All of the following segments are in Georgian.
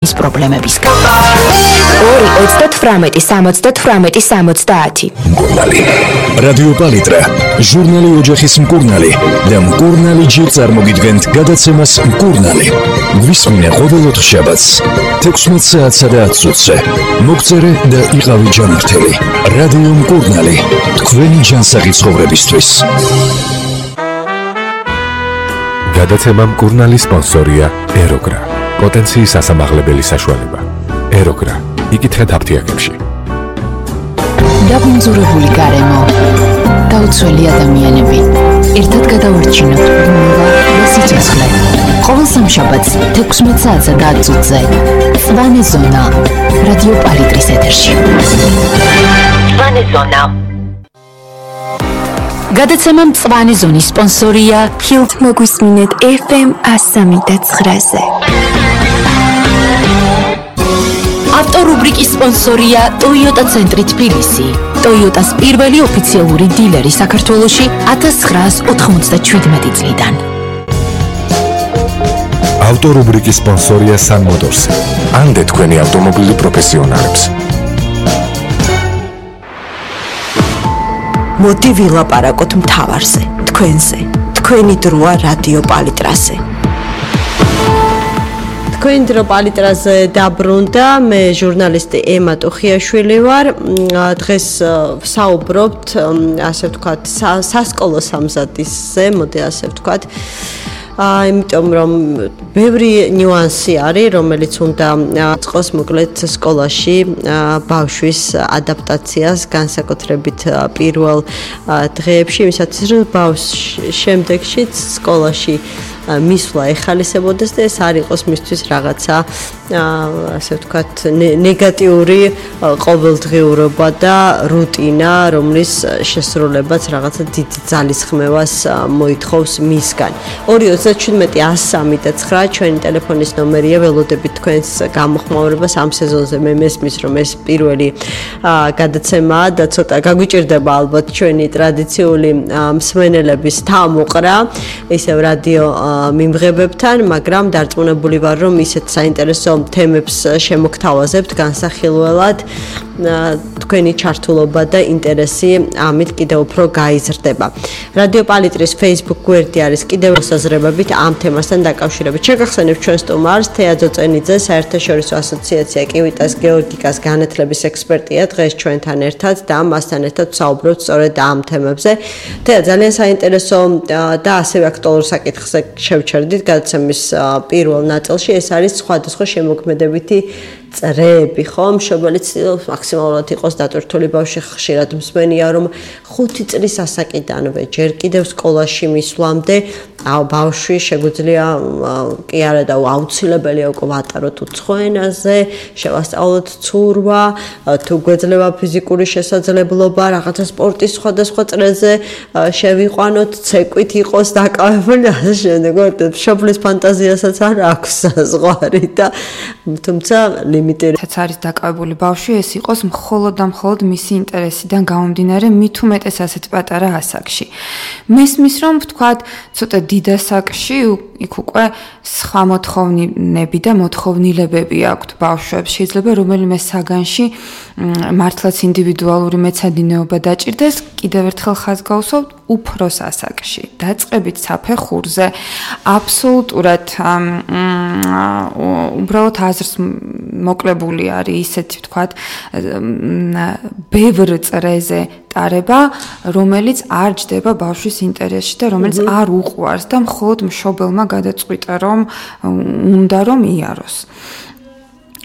ის პრობლემებისგან. 2-38-70-70. მკურნალი. რადიო პალიტრა, ჟურნალი ოჯახის მკურნალი და მკურნალი ჯერ წარმოგიდგენთ გადაცემას მკურნალი. გვისმინე ყოველ ოთხშაბათს 16 საათსა და 10 წუთზე. მოგწერე და იყავი ჯანმრთელი. რადიო მკურნალი, თქვენი ჯანსაღი ცხოვრებისთვის. გადაცემა მკურნალი სპონსორია ეროგრა. პოტენციის ასამაღლებელი საშუალება. ეროგრა. იკითხეთ აფთიაქებში. დაბინძურებული გარემო. გაუცველი ადამიანები. ერთად გადავარჩინოთ ბუნება და სიცოცხლე. ყოველ სამშაბათს 16 საათსა და 10 წუთზე. წვანე ზონა. რადიო პალიტრის ეთერში. წვანე ზონა. გადაცემა მწვანე ზონის სპონსორია Hilt. მოგვისმინეთ FM 103.9-ზე. ავტორუბრიკის სპონსორია Toyota ცენტრი თბილისი. Toyota-ს პირველი ოფიციალური დილერი საქართველოში 1997 წლიდან. ავტორუბრიკის სპონსორია Sun Motors. ამდე თქვენი ავტომობილი პროფესიონალებს. მოდი ვილაპარაკოთ მთავარზე, თქვენზე. თქვენი დროა რადიო პალიტრაზე. თქვენი დრო პალიტრაზე დაბრუნდა, მე ჟურნალისტი ემა ტუხიაშვილი ვარ. დღეს ვსაუბრობთ, ასე ვთქვათ, სასკოლო სამზადისზე, მოდი ასე ვთქვათ. იმიტომ რომ ბევრი ნიუანსი არის, რომელიც უნდა წყოს მოკლედ სკოლაში ბავშვის ადაპტაციას, განსაკუთრებით პირველ დღეებში, იმისათვის რომ ბავშვს შემდეგშიც სკოლაში მისვლა ეხალისებოდეს და ეს არ იყოს მისთვის რაღაცა ასე ვთქვათ ნეგატიური ყოველდღიურობა და რუტინა, რომლის შესრულებაც რაღაცა დიდ ძალისხმევას მოითხოვს მისგან. 2-37-103 ჩვენი ტელეფონის ნომერია, ველოდებით თქვენს გამოხმაურებას ამ სეზონზე. მე მესმის რომ ეს პირველი გადაცემაა და ცოტა გაგვიჭირდება ალბათ ჩვენი ტრადიციული მსმენელების თამოყრა ისევ რადიო მიმღებებთან, მაგრამ დარწმუნებული ვარ, რომ ისეთ საინტერესო თემებს შემოგთავაზებთ განსახილველად. თქვენი ჩართულობა და ინტერესი ამით კიდევ უფრო გაიზრდება. რადიო პალიტრის Facebook გვერდი არის კიდევ მოსაზრებებით ამ თემასთან დაკავშირებით. შეგახსენებთ ჩვენ სტუმარს თეა ძოწენიძე, საერთაშორისო ასოციაცია კივიტას გეორგიკას განათლების ექსპერტია, დღეს ჩვენთან ერთად და მასთან ერთად ვსაუბრობთ სწორედ ამ თემებზე. თეა, ძალიან საინტერესო და ასევე აქტუალურ საკითხზე შევჩერდით გადაცემის პირველ ნაწილში. ეს არის სხვადასხვა შემოქმედებითი წრეები, ხომ? მშობელი ცდილობს მაქსიმალურად იყოს დატვირთული ბავშვი, ხშირად მსმენია, რომ 5 წლის ასაკიდანვე ჯერ კიდევ სკოლაში მისვლამდე ბავშვი შეგვიძლია კი არა და აუცილებელია უკვე ვატაროთ უცხო ენაზე, შევასწავლოთ ცურვა, თუ გვეძლება ფიზიკური შესაძლებლობა, რაღაცა სპორტის სხვადასხვა წრეზე შევიყვანოთ, ცეკვით იყოს დაკავებული და ასე შემდეგ. მშობლის ფანტაზიასაც არ აქვს საზღვარი და თუმცა რაც არის დაკავებული ბავშვი, ეს იყოს მხოლოდ და მხოლოდ მისი ინტერესიდან გამომდინარე, მით უმეტეს ასეთ პატარა ასაკში. მესმის რომ ვთქვათ, ცოტა დიდ ასაკში იქ უკვე სხვა მოთხოვნები და მოთხოვნილებები აქვთ ბავშვებს. შეიძლება რომელიმე საგანში მართლაც ინდივიდუალური მეცადინეობა დაჭირდეს, კიდევ ერთხელ ხაზს გავუსვავთ უფროს ასაკში. დაწყებით საფეხურზე აბსოლუტურად უბრალოდ აზრს მოკლებული არის ისეთი ვთქვათ ბევრ წრეზე ტარება, რომელიც არ ჯდება ბავშვის ინტერესში და რომელიც არ უყვარს და მხოლოდ მშობელმა გადაწყვიტა რომ უნდა რომ იაროს.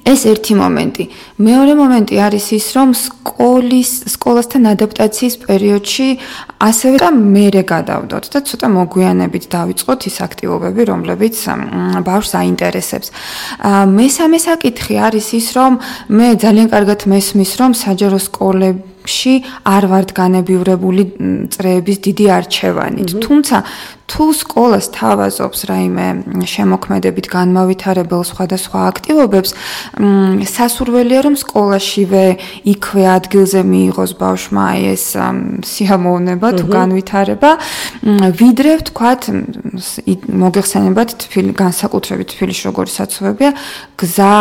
ეს ერთი მომენტი. მეორე მომენტი არის ის, რომ სკოლასთან ადაპტაციის პერიოდში ასევე და მერე გადავდოთ და ცოტა მოგვიანებით დავიწყოთ ის აქტივობები, რომლებიც ბავშვს აინტერესებს. მესამე საკითხი არის ის, რომ მე ძალიან კარგად მესმის, რომ საჯარო სკოლებში არ ვართ განებივრებული წრეების დიდი არჩევანით. თუმცა თუ სკოლას თავაზობს რაიმე შემოქმედებით განმავითარებელ სხვადასხვა აქტივობებს, სასურველია რომ სკოლაშივე იქვე ადგილზე მიიღოს ბავშვმა ეს სიამოვნება თუ განვითარება, ვიდრე ვთქვათ მოგეხსენებათ განსაკუთრებით თბილისში როგორი საცობებია, გზა